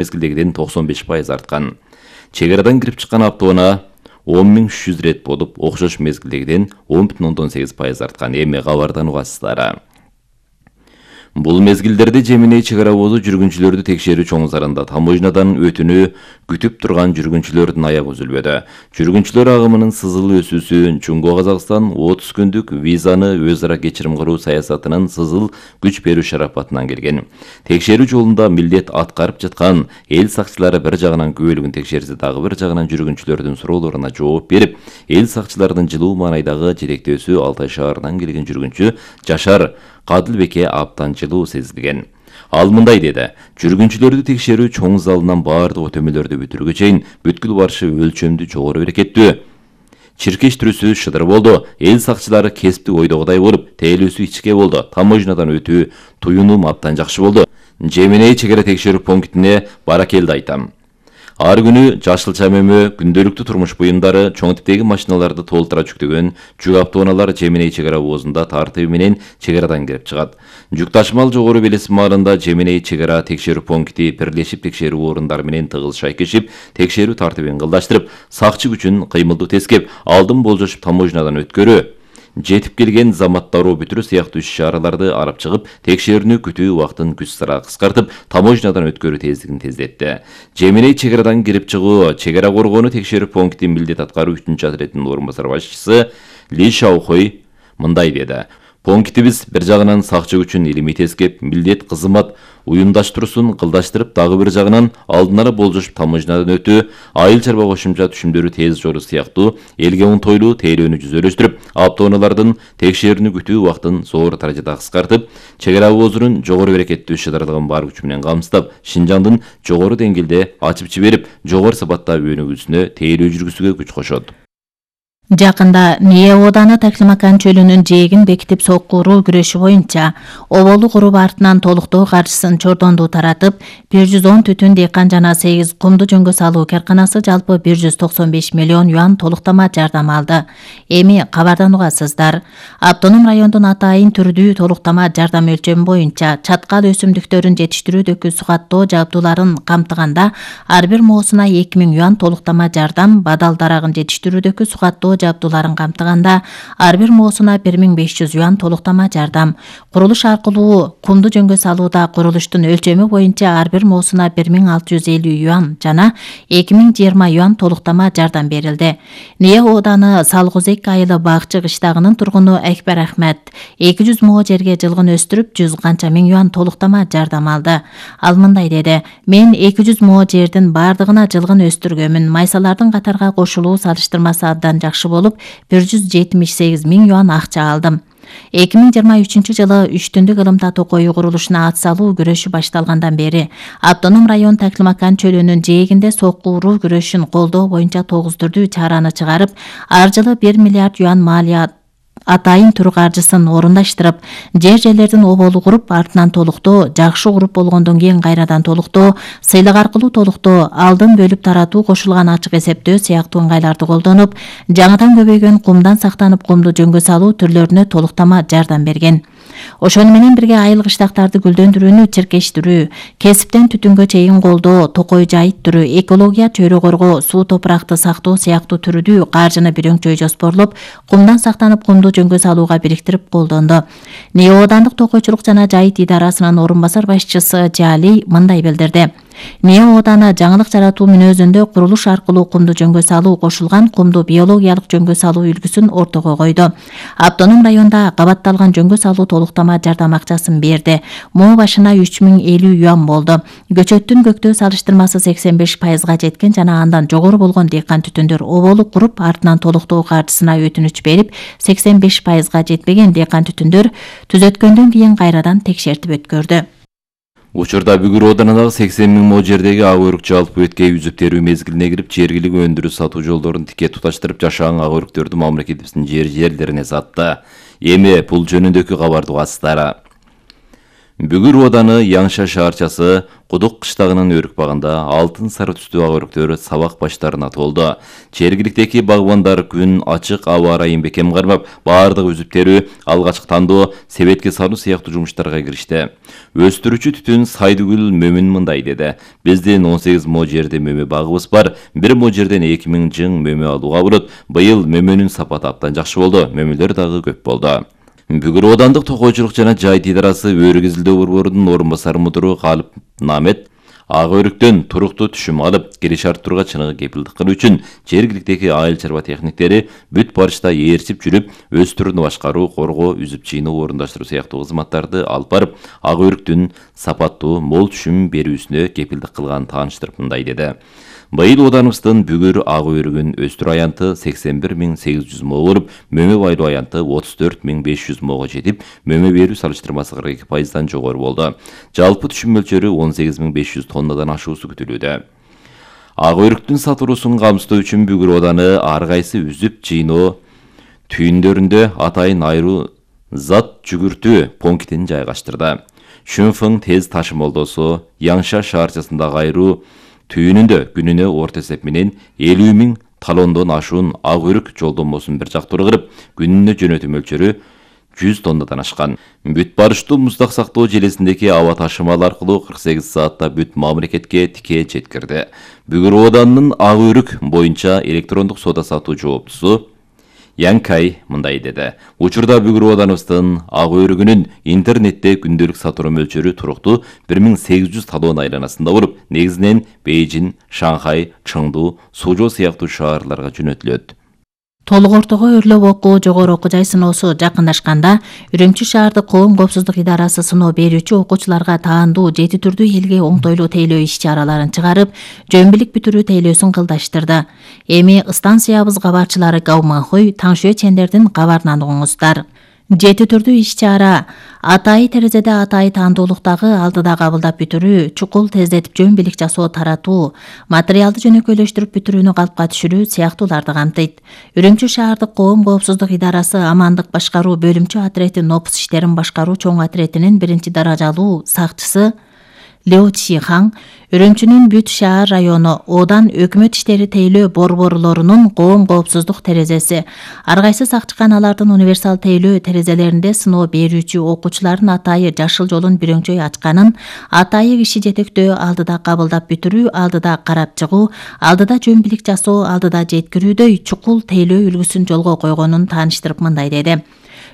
мезгилдегиден 95% арткан. Чегарадан кирип чыккан автоунаа 10.300 рет болуп, окшош мезгилдегиден 10,8% арткан. Эми кабардан угасыздар. Бул мезгилдерде Жеминей чек ара обозу жүргүнчүлөрдү текшерүү чоң зарында таможнядан өтүүнү күтүп турган жүргүнчүлөрдүн аягы үзүлбөдү. Жүргүнчүлөр агымынын сызыл өсүүсү Жумго Казакстан 30 күндүк визаны өз ара кечирим кылуу саясатынын сызыл күч берүү шарапатынан келген. Текшерүү жолунда милдет аткарып жаткан эл сакчылары бир жагынан күбөлүгүн текшерсе, дагы бир жагынан жүргүнчүлөрдүн суроолоруна жооп берип, эл сакчылардын жылуу маанайдагы жетектөөсү Алтай шаарынан келген жүргүнчү Жашар Кадылбекке абдан жылуу сезилген. Ал мындай деди: жүргүнчүлөрдү текшерүү чоң залынан баардык өтөмөлөрдү бүтүрүүгө чейин бүткүл барышы өлчөмдүү жогору берекеттүү. Чиркеш түрүсү шыдыр болду. Эл сакчылары кесиптик ойдогудай болуп, тейлөөсү ичке болду. Таможнядан өтүү туюнум абдан жакшы болду. Жеминей чек ара текшерүү пунктине баракелди айтам. Ар күнү жашылча мөмө, күндөлүктүү турмуш буюмдары, чоң типтеги машиналарды толтура жүктөгөн жүк автоунаалар Жеминей чек ара обозунда тартыпы менен чек арадан кирип чыгат. Жүк ташымал жогору белесим маалында Жеминей чек ара текшерүү пункти бирлешип текшерүү орундары менен тыгыз шайкешип, текшерүү тартыбын кылдаштырып, сакчы күчүн кыймылдуу тескеп, алдын болжошуп таможнядан өткөрүү, жетип келген заматтаруу бүтүрүү сыяктуу иш-чараларды алып чыгып, текшерүүнү күтүү убактын күч сыра кыскартып, таможнядан өткөрүү тездигин тездетти. Жеминей чек арадан кирип чыгуу чек ара коргонуу текшерүү пункти милдет аткаруу 3-чы отрядынын орун басар башчысы Ли Шаохой мындай деди: Пунктибиз бир жагынан сакчы күчүн илимий тескеп, милдет кызмат уюмдаштыруусун кылдаштырып, дагы бир жагынан алдын ала болжошуп таможнядан өтүү, айыл чарба кошумча түшүмдөрү тез жору сыяктуу элге оңтойлуу тейлөөнү жүзөлөштүрүп, автоунаалардын текшерүүнү күтүү убактын зор даражада кыскартып, чек ара обозунун жогору берекеттүү шыдарлыгын бар күчү менен камсыздап, Шинжаңдын жогору деңгээлде ачып жиберип, жогору сапатта өнүгүүсүнө тейлөө жүргүзүүгө күч кошот. Жакында Ния ооданы Таклимакан чөлүнүн жээгин бекитип соккуруу күрөшү боюнча Оболу куруп артынан толуктоо каржысын Чордонду таратып, 110 түтүн дыйкан жана 8 кумду жөнгө салуу карканасы жалпы 195 миллион юан толуктама жардам алды. Эми кабардан угасыздар. Автоном райондун атайын түрдүү толуктама жардам өлчөмү боюнча чаткал өсүмдүктөрүн жетиштирүүдөгү сугаттоо жабдууларын камтыганда ар бир моосуна 2000 юан толуктама жардам, бадал дарагын жетиштирүүдөгү сугаттоо жабдууларын камтыганда ар бир моосуна 1500 юан толуктама жардам. Курулуш аркылуу кумду жөнгө салууда курулуштун өлчөмү боюнча ар бир моосуна 1650 юан жана 2020 юан толуктама жардам берилди. Ния ооданы Салгузек айылы Бакчы кыштагынын тургуну Экбер Ахмет 200 moo жерге жылгын өстүрүп 100 канча миң юан толуктама жардам алды. Ал мындай деди: мен 200 moo жердин бардыгына жылгын өстүргөмүн. Майсалардын катарга кошулуу салыштырмасы абдан жакшы болуп, 178 миң юан акча алдым. 2023 жылы 3 түндүк ылымта токою курулушуна ат салуу күрөшү башталгандан бери автоном район Таклимакан чөлүнүн жээгинде соккуруу күрөшүн колдоо боюнча 9 түрдүү чараны чыгарып, ар жылы 1 миллиард юан малия атайын түр каржысын орундаштырып, жерлердин оболу куруп, артынан толуктоо, жакшы куруп болгондон кийин кайрадан толуктоо, сыйлык аркылуу толуктоо, алдын бөлүп таратуу, кошулган ачык эсептөө сыяктуу ыңгайларды колдонуп, жаңыдан көбөйгөн кумдан сактанып кумду жөнгө салуу түрлөрүнө толуктама жардам берген. Ошону менен бирге айыл кыштактарды гүлдөндүрүүнү чиркештирүү, кесиптен түтүнгө чейин колдоо, токой жайыттыруу, экология, чөйрө коргоо, суу топуракты сактоо сыяктуу түрдүү каржыны бирөңчөй жоспорлоп, кумдан сактанып кумду жөнгө салууга бириктирип колдонду. Ния оодандык токойчулук жана жайыт идарасынын орун басар башчысы Жали мындай билдирди: Ния ооданы жаңылык жаратуу мүнөзүндө курулуш аркылуу кумду жөнгө салуу, кошулган кумду биологиялык жөнгө салуу үлгүсүн ортого койду. Автоном районда кабатталган жөнгө салуу толуктама жардам акчасын берди. Moo башына 3050 юан болду. Көчөттүн көктөө салыштырмасы 85%га жеткен жана андан жогору болгон дыйкан түтүндөр оболу куруп, артынан толуктоо каржысына өтүнүч берип, 85%га жетпеген дыйкан түтүндөр түзөткөндөн кийин кайрадан текшертип өткөрдү. Учурда Бүгүр оодарындагы 80 миң moo жердеги ак өрүк жалпы өткөй үзүп терүү мезгилине кирип, жергилик өндүрүү сатуу жолдорун тике туташтырып, жашаан ак өрүктөрдү мамлекетибиздин жерлерине сатты. Эми бул жөнүндөгү кабарды угасыздар. Бүгүр ооданы Яңша шаарчасы Кудук кыштагынын өрүк багында алтын сары түстүү ак өрүктөр сабак баштарына толду. Жергиликтеги багбандар күн ачык аба ырайын бекем кармап, баардык үзүп терүү, алгачкы тандоо, себетке салуу сыяктуу жумуштарга киришти. Өстүрүүчү түтүн Сайдыгүл Мөмүн мындай деди: Биздин 18 мо жерде мөмө багыбыз бар. Бир мо жерден 2000 жың мөмө алууга болот. Быйыл мөмөнүн сапаты абдан жакшы болду. Мөмөлөр дагы көп болду. Бүгүр оодандык токойчулук жана жайыт идарасы өргүзүлдөө борборунун орун басары мудуру Калып Намет ак өрүктөн туруктуу түшүм алып, кириш арттырууга чыныгы кепилдик кылуу үчүн жергиликтеги айыл чарба техниктери бүт барышта ээрчип жүрүп, өстүрүүнү башкаруу, коргоо, үзүп чыйноо, орундаштыруу сыяктуу кызматтарды алып барып, ак өрүктүн сапаттуу, мол түшүм берүүсүнө кепилдик кылганын тааныштырып мындай деди: Быйыл оданыбыздын бүгүр ак өрүгүн өстүрүү аянты 81800 мо болуп, мөмө байлоо аянты 34500 мого жетип, мөмө берүү салыштырмасы 42%дан жогору болду. Жалпы түшүм мөлчөрү 18500 тоннадан ашуусу күтүлүүдө. Ак өрүктүн сатылуусун камсыздоо үчүн бүгүр ооданы ар кайсы үзүп чыйноо түйүндөрүндө атайын айруу зат жүгүртүү пунктин жайгаштырды. Шүнфың тез ташымалдоосу Яңша шаарчасындагы айруу түйүнүндө күнүнө орто эсеп менен 50 000 талондон ашуун ак өрүк жолдомосун бир жактуу кырып, күнүнө жөнөтүү мөлчөрү 100 тоннадан ашкан. Бүт барыштуу муздак сактоо желесиндеги аба ташымал аркылуу 48 саатта бүт мамлекетке тикээ жеткирди. Бүгүр ооданынын ак өрүк боюнча электрондук соода сатуу жооптусу Янкай мындай деди: Учурда бүгүр ооданыбыздын ак өрүгүнүн интернетте күндөлүк сатуу мөлчөрү туруктуу 1800 талон айланасында болуп, негизинен Бейжин, Шанхай, Чыңду, Сужо сыяктуу шаарларга жөнөтүлөт. Толук ортого өрлөп окуу, жогору окуу жай сыноосу жакындашканда, Үрүмчү шаардык коом коопсуздук идарасы сыноо берүүчү окуучуларга таандуу 7 түрдүү элге оңтойлуу тейлөө иш-чараларын чыгарып, жөнбилик бүтүрүү тейлөөсүн кылдаштырды. Эми станциябыз кабарчылары Гауманхуй, Таңшө чендердин кабарынан угуңуздар. 7 түрдүү иш-чара: атайы терезеде атайы таандуулуктагы алдыда кабылдап бүтүрүү, чукул тездетип жөнбилик жасоо таратуу, материалды жөнөкөйлөштүрүп бүтүрүүнү калпка түшүрүү сыяктууларды камтыйт. Үрүмчү шаардык коом коопсуздук идарасы амандык башкаруу бөлүмчө отрети нопус иштерин башкаруу чоң отретинин 1-даражалуу сакчысы Лео Чихаң, Үрүмчүнүн бүт шаар району Одан өкмөт иштери тейлөө борборлорунун коом коопсуздук терезеси, ар кайсы сакчыканалардын универсал тейлөө терезелеринде сыноо берүүчү окуучулардын атайы жашыл жолун бирөңчөй ачканын, атайы киши жетектөө, алдыда кабылдап бүтүрүү, алдыда карап чыгуу, алдыда жөнбилик жасоо, алдыда жеткирүүдөй чукул тейлөө үлгүсүн жолго койгонун тааныштырып мындай деди: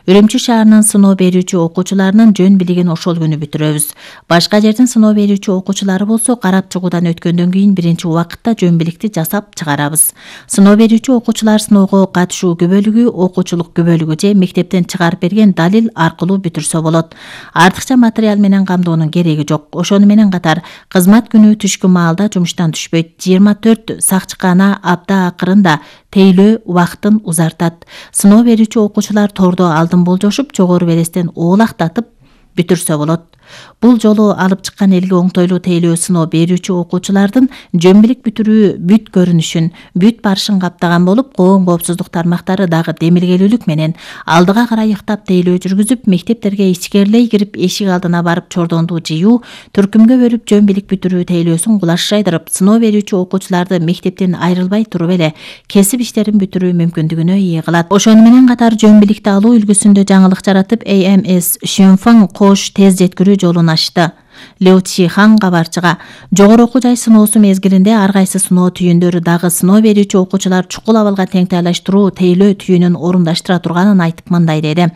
Үрүмчү шаарынын сыноо берүүчү окуучуларынын жөн билигин ошол күнү бүтүрөбүз. Башка жердин сыноо берүүчү окуучулары болсо карап чыгуудан өткөндөн кийин биринчи убакытта жөн биликти жасап чыгарабыз. Сыноо берүүчү окуучулар сыноого катышуу күбөлүгү, окуучулук күбөлүгү же мектептен чыгарып берген далил аркылуу бүтүрсө болот. Артыкча материал менен камдоонун кереги жок. Ошону менен катар кызмат күнү түшкү маалда жумуштан түшпөйт. 24 сакчыкана апта акырында тейлөө убактын узартат. Сыноо берүүчү окуучулар тордо алдын болжошуп, жогору белестен оолактатып бүтүрсө болот. Бул жолу алып чыккан элге оңтойлуу тейлөө сыноо берүүчү окуучулардын жөнбилик бүтүрүү бүт көрүнүшүн, бүт барышын каптаган болуп, коом коопсуздук тармактары дагы демилгелүүлүк менен алдыга карай ыктап тейлөө жүргүзүп, мектептерге ичкерлей кирип, эшик алдына барып чордонду жыюу, түркүмгө бөлүп жөнбилик бүтүрүү тейлөөсүн кулаш жайдырып, сыноо берүүчү окуучуларды мектептен айрылбай туруп эле кесип иштерин бүтүрүү мүмкүндүгүнө ээ кылат. Ошону менен катар жөнбиликти алуу үлгүсүндө жаңылык жаратып, AMS Шөнфаң кош тез жеткирүү жолун ачты. Лео Чихаң кабарчыга: жогору окуу жай сыноосу мезгилинде ар кайсы сыноо түйүндөрү дагы сыноо берүүчү окуучулар чукул абалга тең тайлаштыруу тейлөө түйүнүн орундаштыра турганын айтып мындай деди: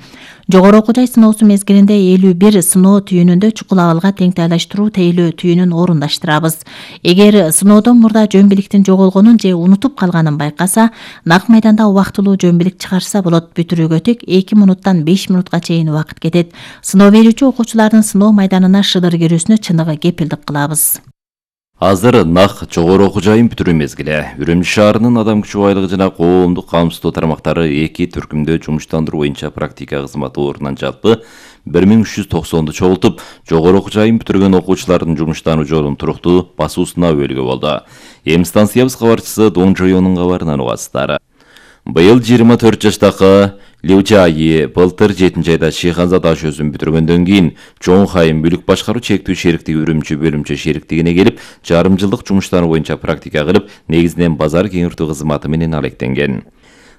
жогору окуу жай сыноосу мезгилинде 51 сыноо түйүнүндө чукул абалга тең тайлаштыруу тейлөө түйүнүн орундаштырабыз. Эгер сыноодон мурда жөнбиликтин жоголгонун же унутуп калганын байкаса, нак майданда убактылуу жөнбилик чыгарса болот. Бүтүрүүгө тек 2 минуттан 5 минутка чейин убакыт кетет. Сыноо берүүчү окуучулардын сыноо майданына шыдыр кирүүсүнө чыныгы кепилдик кылабыз. Азыр нак жогору окуу жайын бүтүрүү мезгили. Үрүмчү шаарынын адам күчү байлыгы жана коомдук камсыздоо тармактары 2 түркүмдө жумуштандыруу боюнча практика кызматы орунан жалпы 1390 чогултуп, жогору окуу жайын бүтүргөн окуучулардын жумуштануу жолун туруктуу басуусуна өбөлгө болду. Эми станциябыз кабарчысы Доң Жоёнун кабарынан угасыздар. Быйыл 24 жаштагы Liu Jiayi былтыр 7-айда Шиханза таш өзүн бүтүргөндөн кийин Чоңхайым мүлүк башкаруу чектүү шериктиги Үрүмчү бөлүмчө шериктигине келип, жарым жылдык жумуштары боюнча практика кылып, негизинен базар кеңиртүү кызматы менен алектенген.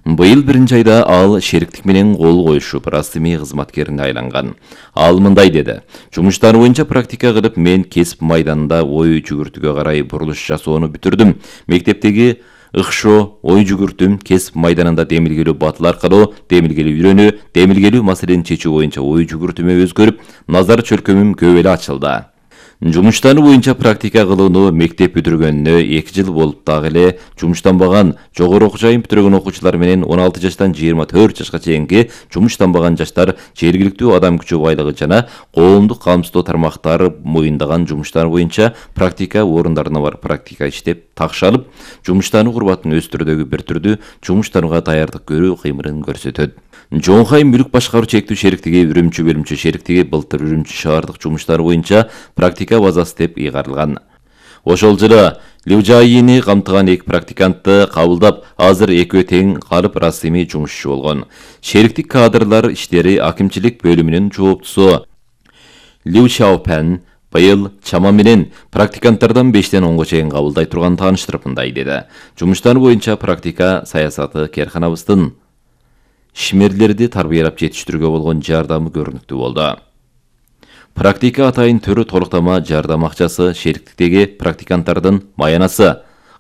Быйыл 1-айда ал шериктик менен кол коюшуп, расмий кызматкерине айланган. Ал мындай деди: "Жумуштар боюнча практика кылып, мен кесип майданында ой жүгүртүүгө карай бурулуш жасоону бүтүрдүм. Мектептеги ыкшоо, ой жүгүртүм, кесип майданында демилгелүү батыл аркылуу демилгелүү үйрөнүү, демилгелүү маселени чечүү боюнча ой жүгүртүмө өзгөрүп, назар чөлкөмүм көп эле ачылды. Жумуштары боюнча практика кылууну мектеп бүтүргөнүнө 2 жыл болуп дагы эле жумуштанбаган, жогору окуу жайын бүтүргөн окуучулар менен 16 жаштан 24 жашка чейинки жумуштанбаган жаштар жергиликтүү адам күчү байлыгы жана коомдук камсыздоо тармактары моюндаган жумуштар боюнча практика орундарына барып практика иштеп, такшалып, жумуштаны курбатын өз түрдөгү бир түрдүү жумуштанууга даярдык көрүү кыймылын көрсөтөт. Чоңхай мүлүк башкаруу чектүү шериктиги Үрүмчү бөлүмчө шериктиги былтыр Үрүмчү шаардык жумуштары боюнча практика базасы деп ыйгарылган. Ошол жылы Liu Jiayini камтыган 2 практикантты кабылдап, азыр экөө тең калып расмий жумушчу болгон. Шериктик кадрлар иштери акимчилик бөлүмүнүн жооптусу Liu Xiaopэн быйыл чама менен практиканттардан 5-тен 10га чейин кабылдай турган тааныштырып мындай деди: "Жумуштар боюнча практика саясаты керканабыздын ишмерлерди тарбиялап жетиштирүүгө болгон жардамы көрүнүктүү болду. Практика атайын түрү толуктама жардам акчасы, шериктиктеги практиканттардын маянасы,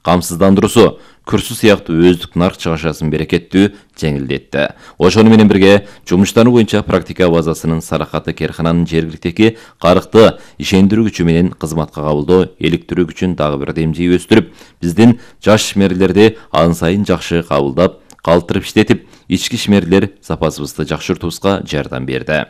камсыздандыруусу, курсу сыяктуу өздүк нарк чыгашасын берекеттүү жеңилдетти. Ошону менен бирге жумуштары боюнча практика базасынын саракаты керкананын жергиликтеги карыкты ишендирүү күчү менен кызматка кабылдоо иликтирүү күчүн дагы бир демжей өстүрүп, биздин жаш ишмерлерди ан сайын жакшы кабылдап, калтырып иштетип, ички ишмерлер запасыбызды жакшыртуубузга жардам берди.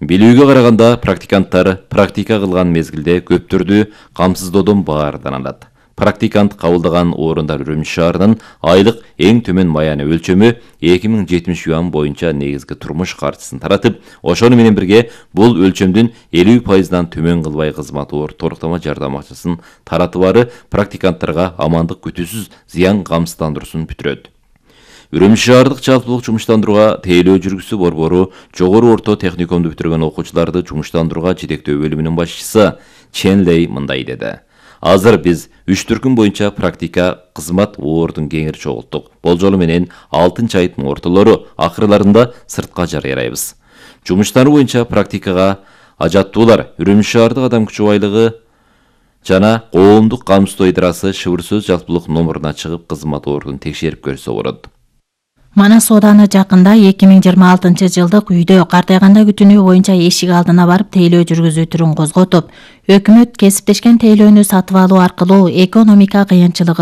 Билүүгө караганда, практиканттар практика кылган мезгилде көп түрдүү камсыздоодон баардан алат. Практикант кабылдаган орундар Үрүмчү шаарынын айлык эң төмөн маяны өлчөмү 2070 юан боюнча негизги турмуш каржысын таратып, ошону менен бирге бул өлчөмдүн 50%дан төмөн кылбай кызмат толуктама жардам акчасын таратыбары практиканттарга амандык күтүүсүз зыян камсыздандыруусун бүтүрөт. Үрүмчү шаардык жалпылык жумуштандырууга тейлөө жүргүзүү борбору жогору орто техникумду бүтүргөн окуучуларды жумуштандырууга жетектөө бөлүмүнүн башчысы Чен Лей мындай деди: "Азыр биз 3 түркүм боюнча практика кызмат ордун кеңири чогулттук. Болжолу менен 6 айдын ортолору акырларында сыртка жарыялайбыз. Жумуштары боюнча практикага ажаттуулар Үрүмчү шаардык адам күчү байлыгы жана коомдук камсыздоо идарасы шыбыр сөз жалпылык номуруна чыгып кызмат ордун текшерип көрсө болот." Манас ооданы жакында 2026 жылдык үйдө картайганда күтүнүү боюнча эшик алдына барып тейлөө жүргүзүү түрүн козготуп, өкмөт кесиптешкен тейлөөнү сатып алуу аркылуу экономика кыйынчылыгы